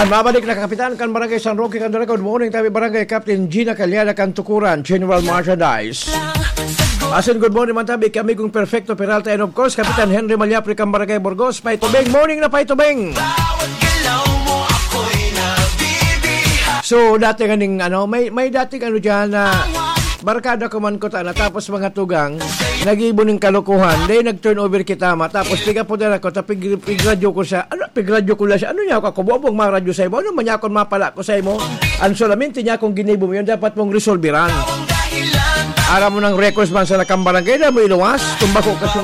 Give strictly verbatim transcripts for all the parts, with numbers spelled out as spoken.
Mabalik na Kapitan kan Barangay San Roque, kan Dalaga. Good morning, tabi Barangay Captain Gina Calyada, kan Tukuran, General Merchandise. Asin good morning man tabi kay Amigong Perfecto Peralta, and of course, Kapitan Henry Malyapre, kan Barangay Burgos. Paitubing, morning na Paitubing. So, dati ganing, ano, may, may dating ano dyan na barkada ko man ko ta na, tapos mga tugang, nag-ibo ning kalokohan, then nag-turnover kita ma, tapos piga po na ako, ta pig-, pigradyo ko siya, ano, pigradyo ko lang siya, ano niya ako, ako, bobong maradyo sa imo, ano man niya akong mapala ko sa imo, ang solamente niya akong ginibo mo, yun dapat mong resolveran. Aram mo ng records man sa lakang barangay na mo iluwas, tumbako ka siya.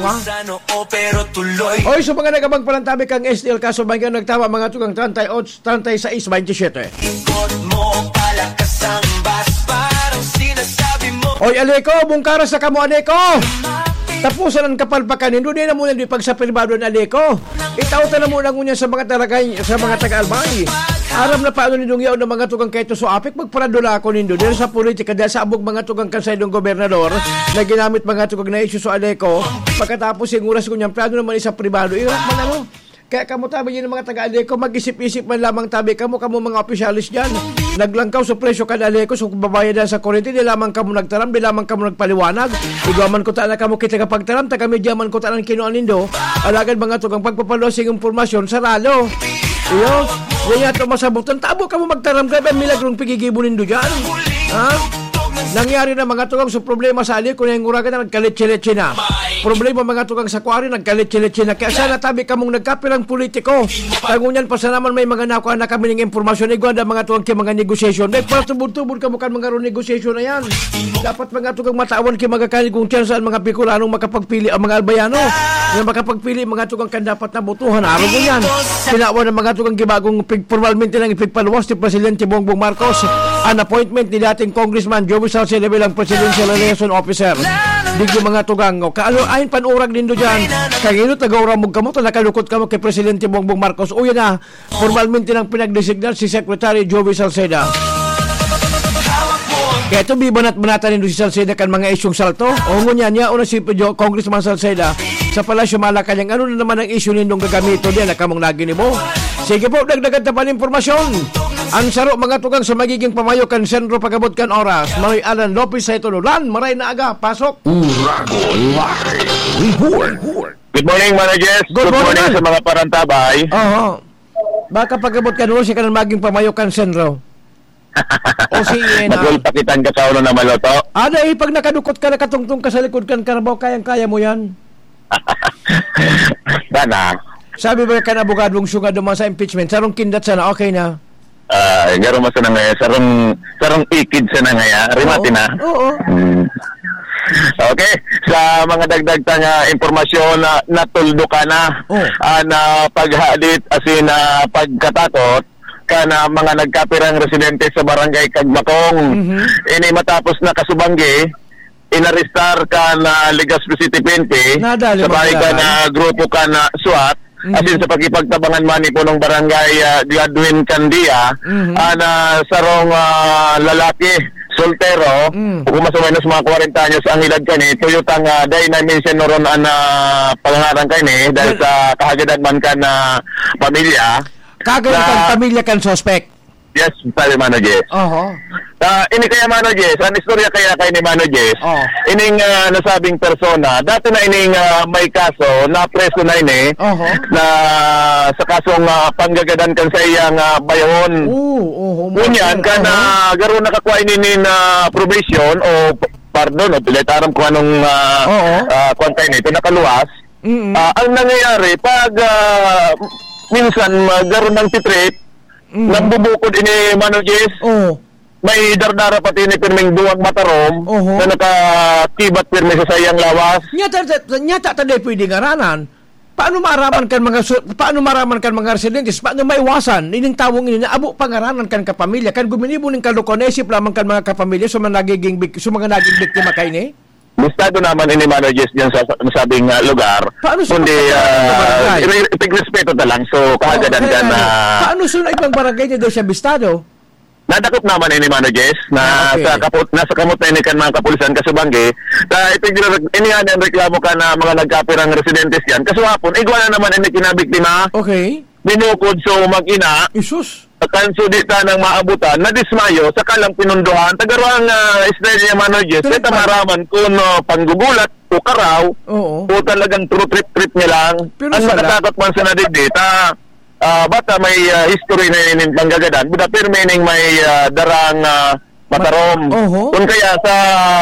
Oy, so mga nagabang palantabi kang S T L kaso bangyan nagtama mga tugang treinta y ocho, treinta y seis, veintisiete. Ikot mo, palakas ang bas, parang sinasabi mo. Oy, Aleco, bungkara sa kamo, Aleco! Tapusan ang kapalpakan nindo, di na muna di pagsapribado ni Aleco. Itao ta na muna ngunyan sa mga taga-, sa mga taga-Albay. Aram na paano nindong yaon ng mga tugang kay Tuso Apik, magparadula ako nindo. Dahil sa politika, dahil sa abog mga tugang kan saindong gobernador, na ginamit mga tugang na isyu sa Aleco. Pagkatapos yung oras ngunyan, plano naman isa pribado. Irak man ano? Kaya kamo tabi yun ang mga taga-Aleco, mag-isip-isip man lamang tabi kamo, kamo mga opisyalis dyan. Naglangkaw sa presyo kan Aleco, so kung babayadan sa kurente, di lamang kamo nagtaram, di lamang kamo nagpaliwanag. Igwa man ko ta na kamo kita kapagtaram, taga media man ko ta ng kinuha nindo. Alagad mga tugang pagpapaluwas yung impormasyon, sarado. Iyo, yan nga ito masabutan. Tabo kamo magtaram, grabe ang milagrong pigigibo nindo dyan. Ha? Nangyari na mga tugang sa problema sa Aleco, na yung uragan na nagkalitsi-litsi na. Problema mga tugang sa Kuwari, nagkalitsi-litsi na. Kaya sana tabi kamong nagkapirang politiko. Tango niyan pa sana man may mga nakuha na kami ng impormasyon. Igwa na mga tugang kay mga negosasyon. Nagpatubod-tubod kamo kan mga ro negosasyon na yan. Dapat mga tugang matawan kay mga kaligong tiyan saan mga Bicolanong makapagpili ang mga Albayano. Na makapagpili mga tugang kan dapat na botohan. Araw mo yan. Kinawa ng mga tugang gibagong pig-, formalmente lang ipigpaluwas ni Presidente Bongbong Marcos ang appointment ni dating Congressman Joey Salceda bilang Presidential Liaison Officer. Digdi mga tugang, o, kaalo, ayon panurag nindo dyan. Kaya ngayon, taga-uramog kamo, ta nakalukot kamo kay Presidente Bongbong Marcos. Uya na, formalmente nang pinagdesignar si Secretary Joey Salceda. Kaya ito, bibanat-banatan nindo si Salceda kan mga isyong salto. O, ngunyan, niya, una si Jo-, Congressman Salceda sa Palasyo Malacañang. Ano na naman ang isyu nindong gagamiton diyan na kamong naginibo? Sige po, dagdagan ta pa ng impormasyon. Ang saro, mga tugang sa magiging pamayo kan sentro pagabot kan oras. Manoy Alan Lopez sa ito, Lan, maray na aga, pasok. Uragon Live Report. Good morning, Mano Jess. Good Good morning, morning Al. sa mga parantabay. Oho. Baka pagabot kan oras, ika na maging pamayo kan sentro. O si Ian, ah. Magulpakitan ka sa ulo na maloto. Ada, eh, pag nakadukot ka, nakatungtong ka sa likod kan karabaw, kayang-kaya mo yan. Sana. Sabi ba kan abogadong sungad naman sa impeachment, sarong kindat sana, okay na. Ah, garo mo sana ngaya, sarong, sarong ikid sana ngaya, rimati Oo. na. Oo. Hmm. Okay, sa mga dagdag ta nga impormasyon na natuldo ka na, Oh. ah, na paghadit, asin na pagkatakot, kan mga nagkapirang residente sa Barangay Cagbacong. Mhm. Ini matapos na kasubanggi, inarestar kan, ah, Legazpi City P N P, Nadali sabay magdala. kan, ah, grupo kan, ah, SWAT, Mhm. asin sa pakipagtabangan man ni punong barangay, ah, Gladwin Candia, Mhm. ah, na sarong, ah, lalaki, soltero, Mm. o kung mas o menos mga kwarenta anyos ang edad kani, tuyotang, ah, dai na mention noron an, ah, pangaran kani, dahil Well, sa kahagadan man kan, ah, pamilya. Kagaya Na kan pamilya kan suspect. Yes, sabi Mano Jess. Oho. Ah, ini kaya Mano Jess, ang istorya kaya kay ni Mano Jess, Oh. ining, ah, nasabing persona, dati na ining, ah, may kaso, na preso na ini, Oho. na sa kasong, ah, panggagadan kan sa iyang, ah, bayahon. Oo, oho, Ngunyan, oho. kan, ah, garo nakakuha ini nin, ah, probation o p-, pardon, o pilay taram kung anong, ah, Oo. ah, kwan kayo nito, nakaluwas. Mm. Ah, ang nangyayari, pag, ah, minsan, ah, garo ng titrip, Mm. Nambubukod ini, Mano Jess. Oo. May dardara pati ni pirming duwang matarom Oho. na nakakibat pirmi sa saiyang lawas. Nyata, ta-, nyata ta di pwede ngaranan. Paano maaraman kan mga su-, paano maaraman kan mga residentes? Paano maiwasan ining tawong ini na abo pangaranan kan kapamilya? Kan guminibo ning kalukuhan, naisip lamang kan mga kapamilya sa mga nagiging bik-, sa mga naging biktima kaini? Listado naman ini, Mano Jess, diyan sa, sa nasabing, ah, lugar. Paano sa Kundi, pagkakaroon ng ah, barangay? i-, ipigrespeto na lang. So, kahagadan Oo, kaya dyan nga, na paano sa ibang barangay niya daw siya bistado? Nadakop naman ini, Mano Jess, na Ah, okay. sa kaput-, nasa kamot na ini kan mga kapulisan, kasubanggi. Sa ipigre-, ini nga ang reklamo ka na mga nagkapirang residentes yan. Kasuhapon, igwa na naman ini kinabiktima. Okay. Binukod, so, mag-ina. Isus. Kanso di tanang maabutan, nadismayo, saka lang pinundohan. Tagarang, ah, style niya, Mano Jess, Correct, di ta man. maraman kung, ah, panggugulat o karaw Oo. o talagang true trip-trip niya lang. Pero Ang sala. nakatakot man sa nadigdi, ta, ah, bata may, ah, history na inin panggagadan. Buda pirmi ning may, ah, darang, ah, matarom. Oho. Kung kaya sa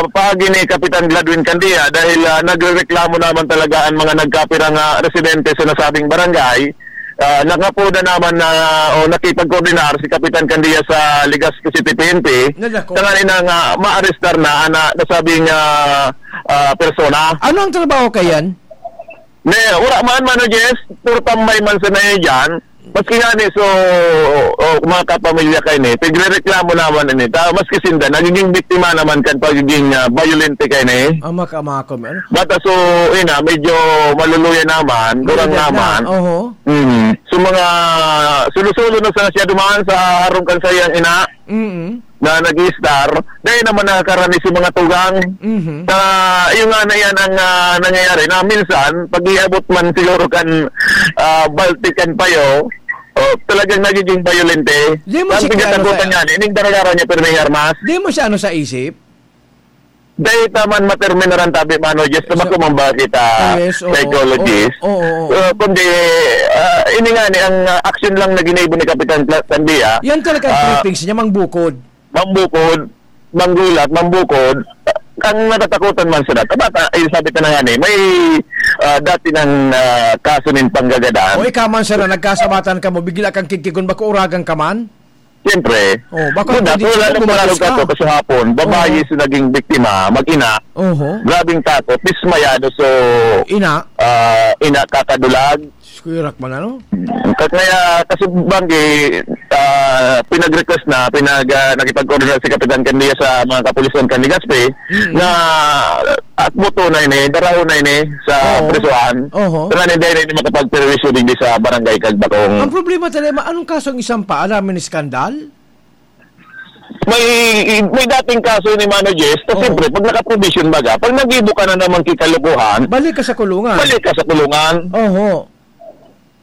paagi ni Kapitan Gladwin Candia, dahil, ah, nagrereklamo naman talaga ang mga nagkapirang, ah, residente sa nasabing barangay, ah, nangapoda naman na o nakipagkoordinar si Kapitan Candia sa Legazpi City P N P, Nadako. tanganing na nga maarestar na ang, ah, nasabing, ah, ah, persona. Ano ang trabaho kayan? Ne, wala man, Mano Jess, puro tambay man sa na dyan. Maski nga ni, so, o, mga kapamilya kayo ni, pigrereklamo naman ini. Ta, maski sinda, nagiging biktima naman kan pagiging, ah, bayolente kayo ni. Ah, maka-, maka-, ano? Bata, so, ina, medyo maluluya naman, gurang Maluluya na, naman. oho. Mm. So, mga sulo-sulo na sana siya dumaan sa harong kan sayang ina. Mm. na nag-i-star, dahil naman nakakarani si mga tugang. Mhm. Sa, yung nga na yan ang, ah, nangyayari, na minsan, pag iabot man siguro kan, ah, Baltic kan Payo, oh, talagang nagiging bayolente. Di mo Ang si Kiano pagkatakutan sa niya, ining daragara niya, pero may armas. Di mo siya ano sa isip? Dahil taman materminaran tabi, Mano Jess, na So, bako man ba kita yes, oo, psychologist? oo, oo, oo. Uh, kundi, ah, ini nga ni ang, ah, action lang na ginibo ni Kapitan Pla-, Tandia, Yan talaga ang ah, trippings niya, mangbukod. Mangbukod, manggulat, mangbukod. Ang natatakutan man sila, tabata, ay sabi ko na nga ni, may, ah, dati ng, ah, kaso nin panggagadan. O ikaw man, sir, na nagkasabatan ka mo, bigla kang kigkigon, bako uragan ka man? Siyempre. Oh, baka Una, pwede wala siya nang bumatis pangarap ka. ka to kasi hapon, babae Oo. sa naging biktima, mag-ina. Oho. Grabing takot, dismayado, so, Ina. ah, ina kakadulag. Diyos ko, irak man, ano? Ka-, kaya, kasi banggi, ah, pinag-request na, pinag, ah, nakipag-coordinate si Kapitan Candia sa mga kapulisan kan Legazpi Mm. na, at buto na ini, daraho na ini sa Oo. prisuhan. Oho. Kaya hindi, hindi makapagperwisyo digdi sa barangay Kagbakong. Ang problema talaga, ma-, anong kaso ang isang pa? Alam mo ni skandal? May, may dating kaso ni Mano Jess, kasi Oo. siyempre, pag nakaprobation baga, pag nagibo ka na naman kikalukuhan, Balik ka sa kulungan. balik ka sa kulungan. Oho.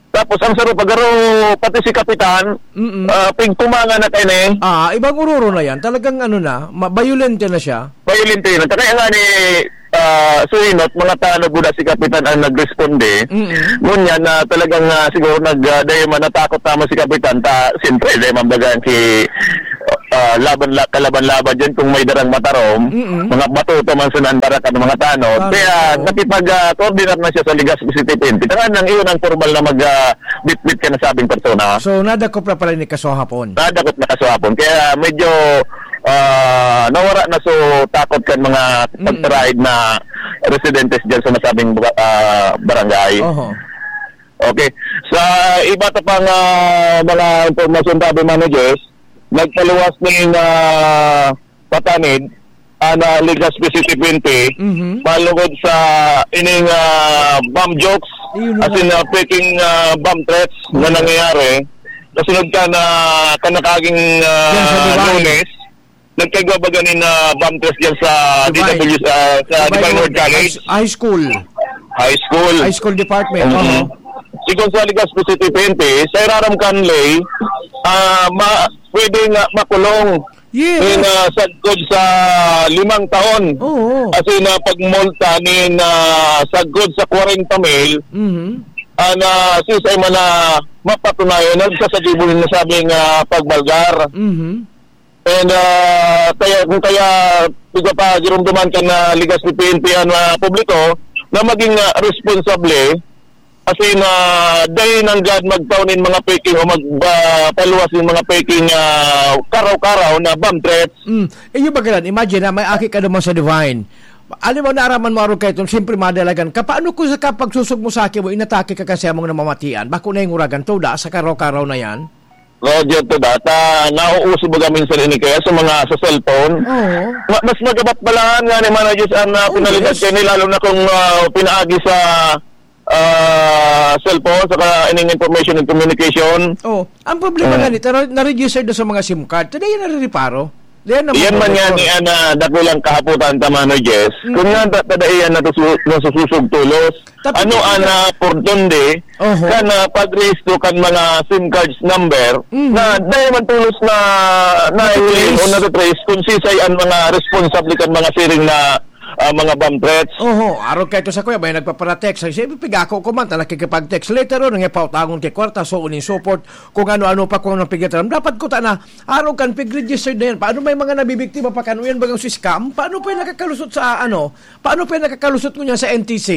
Tapos ang sarong pagaro, pati si Kapitan, Mm. ah, pigtumangan na kayo na eh. Ah, ibang ururo na yan. Talagang ano na, ma-, bayolente na siya. Bayolente na. Kaya nga ni, ah, Suinot, mga tanod guda si Kapitan ang nagresponde. Mm. Ngunyan na talagang, ah, siguro nag, ah, dahil man natakot naman si Kapitan, ta, siyempre, dahil man baga si, ah, laban la-, kalaban-laban dyan kung may darang matarom, Mm. mga batuta man sa nandara kan mga tanod. Tanod, Kaya oo. nakipag, ah, coordinate na siya sa Legazpi City P N P. Tangan nang iyon ang formal na mag, ah, bitbit ka na sabing persona. So, nadakop na pala ni kaso hapon? Nadakop na kaso hapon. Kaya medyo, ah, nawara na so takot kan mga Mm. pagtarahid na residentes dyan sa nasabing ba-, ah, barangay. Oho. Okay. Sa iba ta pang, ah, mga impormasyon, tabi managers, nagpaluwas ning, ah, patanid ang, ah, Legazpi City P N P, Mhm. malugod sa ining, ah, bomb jokes, Ayun as in, nga. ah, peking, ah, bomb threats na Mhm. nangyayari. Kasunod ka na kanakaging, ah, Yan sa Dubai. Lunes, nagkagwa ba ganin na bomb threats dyan sa Dubai. D W, ah, sa Dubai Dubai World World College? High, high school. High school. High school department. Mhm. Oo. Sigon sa Legazpi City P N P, sa iraram kan ley, ah, ma-, pwede nga makulong Yes. nin, ah, sagkod sa limang taon. Oo. As in, ah, pagmulta nin, ah, sagkod sa kwarenta mil, Mhm. ah, na sisay man na mapatunayan, nagsasabi mo rin na sabing, ah, pagbalgar. Mhm. And, ah, kaya, kung kaya, tiga pa, girumduman ka na ligas ni P N P ang, ah, publiko na maging, ah, responsable, as in, ah, dai nanggad magtao nin mga peking o mag-, ah, paluwas nin mga peking, ah, karaw-karaw na bomb threats. Mm. Eh, yung bagalan, imagine na may aki ka naman sa Divine. Alam mo, naaraman mo araw kayo, siyempre madalagan ka. Paano kung sa kapagsusog mo sa aki mo, inatake ka kasi among namamatian? Bako na yung uragan to, da, sa karaw-karaw na yan? Roger, to data, nauuso baga minsan ini kaya sa mga sa cellphone? Oo. Ma-, mas magabat balaan nga ni Managers ang, ah, Oh, pinalipad yes. kayo ni, lalo na kung, ah, pinaagi sa, ah, cellphone, saka ining information and communication. Oh, ang problema Oo. ganito, na, na-registered na sa mga SIM card. Today, narireparo. Diyan naman, Iyan man nga Doctor. ni ana dakulang kahapotan ta, Manoy Jess. Mm. Kung nga ta-, tadaian na to su-, nasususog tulos, Tapi ano kita ana portonde Oho. kan, ah, pagrehistro kan mga SIM cards number Mm. na dai man tulos na, na Natitrace. o natitrace kung sisay ang mga responsable kan mga siring na, ah, mga bomb threats? Oho, arog kaito sa kuya, may nagpapara-text. Ay, siya, pigako ko man, ta nakikipag-text. Later on, nga pautangon kay kwarta, so uning support, kung ano-ano pa, kung anong pigitaram. Dapat ko ta na, Arog kan pig-registered na yan. Paano may mga nabibiktima pa kan yan bagang si scam? Paano pa yung nakakalusot sa ano? Paano pa yung nakakalusot ngunyan sa N T C?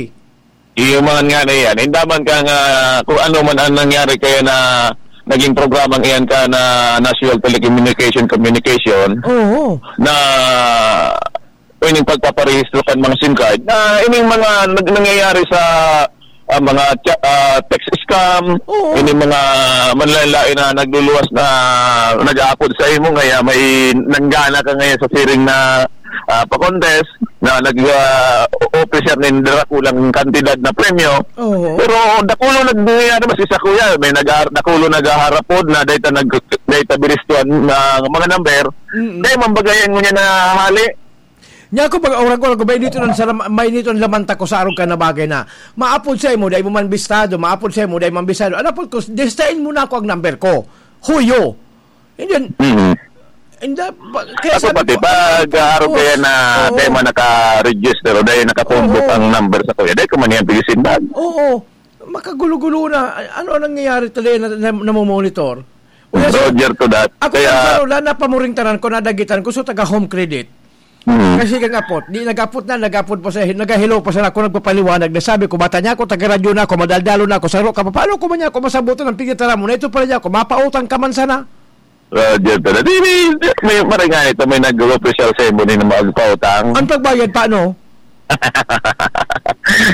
Iyo man nga na yan. Indaman ka nga kung ano man ang nangyari kaya na naging programang iyan ka na National Telecommunication Communication Oo. na ining pagpaparehistro kan mga SIM card, na ining mga nag-, nangyayari sa, ah, mga cha-, ah, text scam, Oo. ining mga manlaen-laen na nagluluwas na nag-aapod sa imo, kaya may nanggana ka ngayon sa siring na, ah, pa-contest na nag, ah, offer siya nin dakulang kantidad na premyo. Oo. Pero dakulo nangyayari, mas isa, kuya, may nag-, dakulo naghaharapod na data nag-, data biristuan na mga number. Mm-mm. Kaya mambagayan mo niya na hali. Nya ako, pag orang-orang ko, may nito lang sa lam-, may nito ang laman ta ko sa arog ka na bagay na maapod sa imo, dai mo man bistado, maapod sa imo, dai man bistado. Ano po, kus-, destain mo na ako ang number ko. Huyo. And then, Mhm. and then, ba-, kaya Ako sabi pati, ko, pag ano, arog kaya na, oo. dai man naka-register o dai nakatumbok Oo. ang number sa kuya, dai ko man yan pag-isimbag. Oo. Makagulo-gulo na. Ano ang nangyayari talaga na, na, namomonitor? Uya, Roger to that. Ako Kaya lang, wala na pamuring tanan ko, nadagitan ko, so taga Home Credit. Mm. Kasi kang apot, di nag-apot na, nag-apot pa sa, nag-hello pa sana ako, nagpapaliwanag na sabi ko, bata niya ako, taga-radyo na ako, madaldalo na ako, saro ka pa, paano ko man niya ako masabutan ang pigitara mo na ito pala niya ako, mapautang ka man sana. Roger to that. Di, di, di, may maringay ito, may nag-official sa imo ni na magpautang. Ang pagbayad, paano?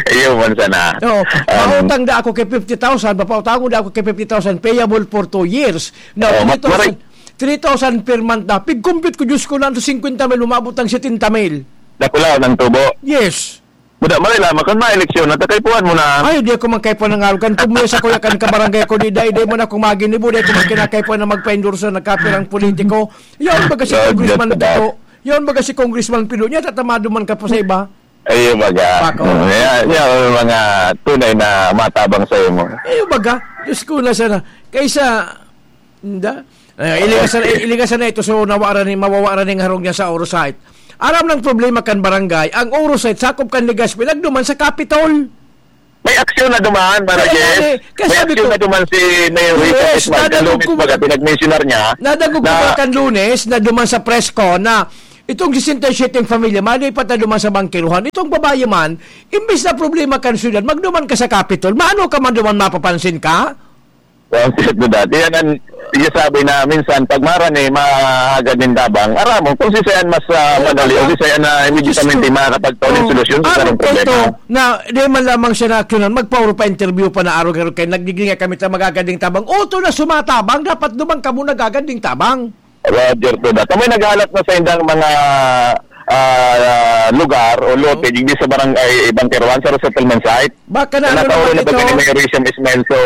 Iyo man sana. Oo. Um, Mautang da ako kay fifty thousand, mapautangon da ako kay fifty thousand, payable for two years. Now, Oo, three thousand, maray. three thousand per month na. Pig-compute ko, Diyos ko, lang sa fifty mil, umabot ang seventy mil. Dakula ang tubo. Yes. Muda, maray lamang, kan mga eleksyon, natakaypuan mo na. Ay, di ako magkaipuan ng arugan. Kung muna sa kuya kan kabarangay ko, di, di, di mo na akong maginibo, di ako magkinakaipuan na magpa-endorse na nagkapirang politiko. Yan, baga si Ah, Congressman just about. Tito. Yan, baga si Congressman Pino. Niya, tatamado man ka po sa iba. Ayun baga. Bako. Mm, yan, yan ang mga tunay na matabang sa imo. Ayun baga. Diyos ko, nasa na. Kaysa, hindi. Eh, iligasan, iligasan na ito, so nawara ni, mawawara ning harong niya sa Orosite. Aram ng problema kan barangay, ang Orosite, sakop kan Legazpi, nagduman sa Capitol. May aksyon na duman, Mara Kaya Jess. nga eh, kaya May sabi aksyon ko, na duman si Mayor Rico Yes, Guzman. nadangog Lunes ko, baga, pinag-mensionar niya nadangog ko na ba kan Lunes na duman sa press ko na itong sixty-seven pamilya, malipat na duman sa bangkeruhan. Itong babae man, imbis na problema kan syudad, magduman ka sa Capitol. Maano ka man duman mapapansin ka? Well, ang sakit na dati. Yan ang sinasabi na minsan, pag marani, mahagad nin tabang. Aram mo, kung si Sayan mas, ah, Oo, madali, o baka. si Sayan na immediatamente Diyos ko. makakapagtaon ng Oo. solusyon sa Aram sarong ko problema. ito, na di man lamang siya na aksyonan, magpauro pa interview pa na araw-araw kay nagdigdi nga kami ta magagad ning tabang. Oto na sumatabang, dapat dumang kamo nagagad ning tabang. Roger to that. May naghalat na sa indang mga, ah, lugar o lote, Hmm. digdi sa barangay Bangkeruan, sa resettlement site. Baka na Na ano nataon naman na ba ito? ni Mayor Risa Ismael so,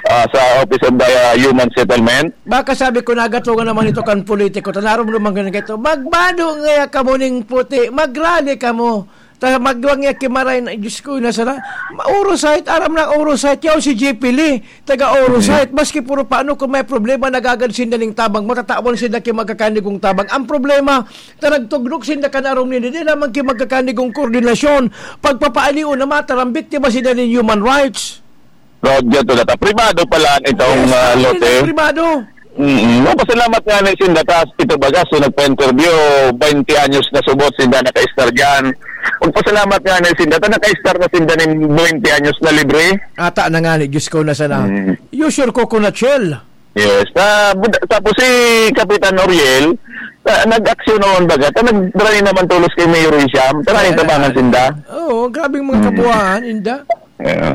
ah, sa Office of the, ah, Human Settlement? Baka sabi ko, nagatungan naman ito kan politiko. Tanarom naman ganun kayo. Magbado ngaya kamo ning puti. Magrally kamo. Ta-, magwang ya kimaray na, Diyos ko, nasa na? Ma-, Orosite, aram na Orosite. Yaw si J P Lee, taga Orosite. Mhm. Maski puro paano, kung may problema, nagagad sinda ning tabang. Matatawan sinda ki magkakanigong tabang. Ang problema, ta nagtugnok sinda kan arom nini, di naman ki magkakanigong koordinasyon. Pagpapaaliw na mataram, biktima sinda nin human rights. Roger to that. Pribado pala itong, Yes, ah, ang lote. Pribado. Mm-mm. Magpasalamat nga ni sinda ta, ito baga, so nagpa-interview, twenty anyos na subot sinda naka-istar dyan. Magpasalamat nga ni sinda ta, naka-istar na sinda nin twenty anyos na libre. Ata na nga ni, Diyos ko, na sana. Mm. Use your coconut shell. Yes. Ah, bud-, tapos si Kapitan Oriel, ah, nag-aksyon noon baga, ta nagdala naman tulos kay Mayor Risa, ta Ay, nagtabangan ay, sinda. Oo, grabing mga Mm. kabuhaan, inda. Yeah.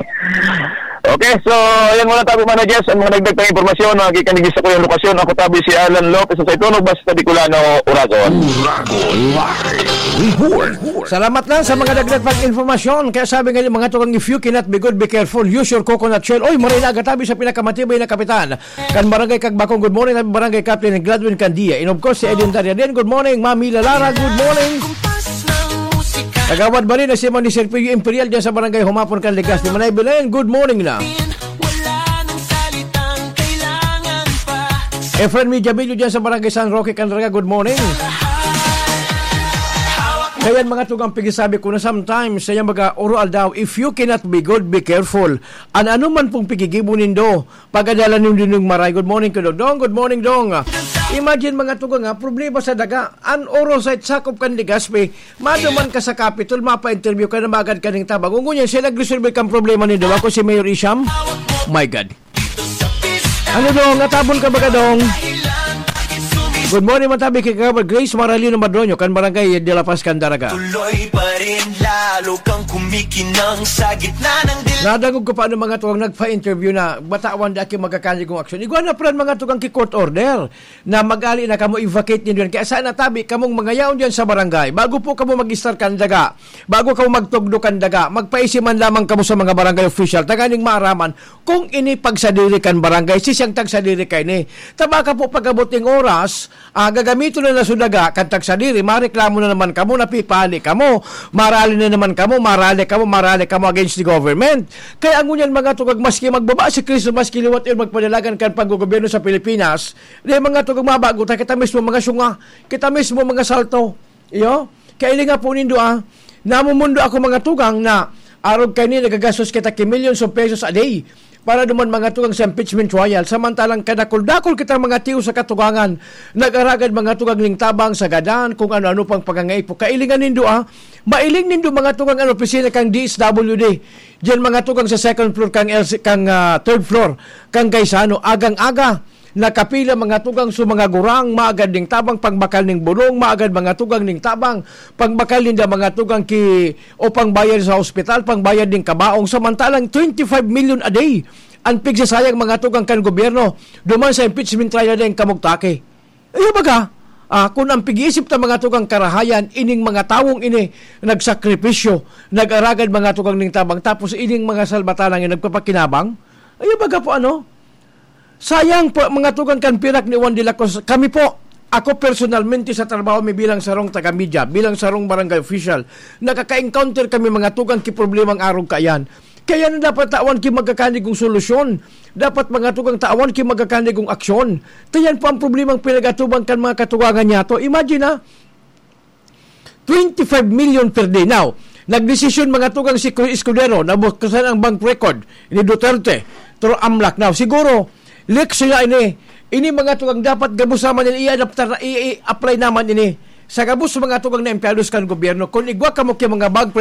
Okay, so, yan muna tayo, Mano Jess. Ang mga nagdagdag impormasyon, mga gikan sa kuyang lokasyon, ako tabi si Alan Lopez sa Saitunog, basta Bicolano, Uragon. Uragon Live. Report. Salamat lang sa mga dagdag pang informasyon. Kaya sabi nga ni mga tugang, "If you cannot be good, be careful. Use your coconut shell." Oy, maray na agatabi sa pinakamatibay na kapitan. Kan Barangay Kagbakong, good morning. Barangay Captain Gladwin Candia. And of course, si Edwin Tariadin. Good morning, Mami Lalara. Good morning. Kagawad Marina, si Mani Serpillo Imperial dyan sa Barangay Humapon, kan Legazpi. Manay Belen, good morning na. Efren Mijabillo dyan sa Barangay San Roque, Candaraga, good morning. Kaya mga tugang pigisabi ko na sometimes, sa iyang mga oro aldaw, "If you cannot be good, be careful." An ano man pong pigigibo nindo, pagadalan nindo ning maray. Good morning, Kuya Dong. Good morning, Dong. Imagine mga tugang ha, problema sa daga. An oro sa sakop kan Legazpi, maduman ka sa Capitol, mapa-interview ka na magad ka ning tabang. Ngunyan, siya nagresolve kang problema nindo. Ako si Mayor Isham. My God. Ano, Dong? Natabon ka ba ka, Dong? Good morning, matabi kay Kagawad Grace Maralino Madroño, kan Barangay de la Paz, Candaraga. Tuloy pa rin, lalo kang kumikinang sa gitna ng dil- Nadangog ko pa ng mga tuwang nagpa-interview na batawan di aki magkakanigong aksyon. Igwa na pran mga tugang ki court order na mag-ali na kamo, i-vacate nindo yan. Kaya sana tabi kamong mga yaon dyan sa barangay. Bago po kamo mag-istar kan daga, bago kamo magtugdo kan daga, magpaisi man lamang kamo sa mga barangay official. Tanganing maaraman kung ini pagsadiri kan barangay, si siyang tagsadiri kaini. Tabaka po pag-abot ning oras, ah, gagamiton na na sa daga kan tagsadiri, mareklamo na naman kamo, napipali kamo, marali na naman kamo, marali kamo, marali kamo against the government. Kaya ngunyan mga tugang, maski magbaba si Kristo, maski liwat yun magpadalagan kan panggogobyerno sa Pilipinas, di mga tugang mabago ta, kita mismo mga syunga, kita mismo mga salto. Iyo? Kaya ini nga po nindo, ah, namumundo ako mga tugang na arog kaini nagagastos kita ki millions of pesos a day para duman mga tugang sa impeachment trial. Samantalang kadakul-dakul kita mga tiyo sa katugangan, nag-aragad mga tugang ning tabang sa gadan, kung ano-ano pang pangangaipo. Kailingan nindo, ah, mailing nindo mga tugang an opisina kang D S W D. Diyan mga tugang sa second floor kang L C, kang, ah, third floor kang Gaisano. Agang-aga, nakapila mga tugang sa mga gurang, maagad ning tabang, pangbakal ning bulong, maagad mga tugang ning tabang, pangbakal ninda mga tugang ki, o pangbayad sa ospital, pangbayad ning kabaong. Samantalang twenty-five million a day an pigsasayang mga tugang kan gobyerno duman sa impeachment trial na yung kamugtaki. Iyo baga, ah, kung ang pig-iisip ta mga tugang karahayan, ining mga tawong ini nagsakripisyo, nag-aragad mga tugang ning tabang, tapos ining mga salbatanang yung nagpapakinabang, iyo baga po ano, sayang po, mga tugang kan pirak ni Juan de la Cruz. Kami po, ako personalmente sa trabaho mi bilang sarong taga-media, bilang sarong barangay official, nakaka-encounter kami mga tugang ki problemang arog kaiyan. Kaya na dapat tawan ki magkakanigong solusyon. Dapat mga tugang tawan ki magkakanigong aksyon. Kaya yan po ang problemang pinag-atubang kan mga katugangan niya to. Imagine ha, twenty-five million per day. Now, nagdesisyon mga tugang si Cory Escudero na bukasan ang bank record ni Duterte through AMLAC. Now, siguro, leaks siya ini. Ini mga tugang dapat gabos naman ini, i-adaptar na, i-, i-apply naman ini sa gabos mga tugang na empleyados kan gobyerno. Kung igwa kamo ki mga bank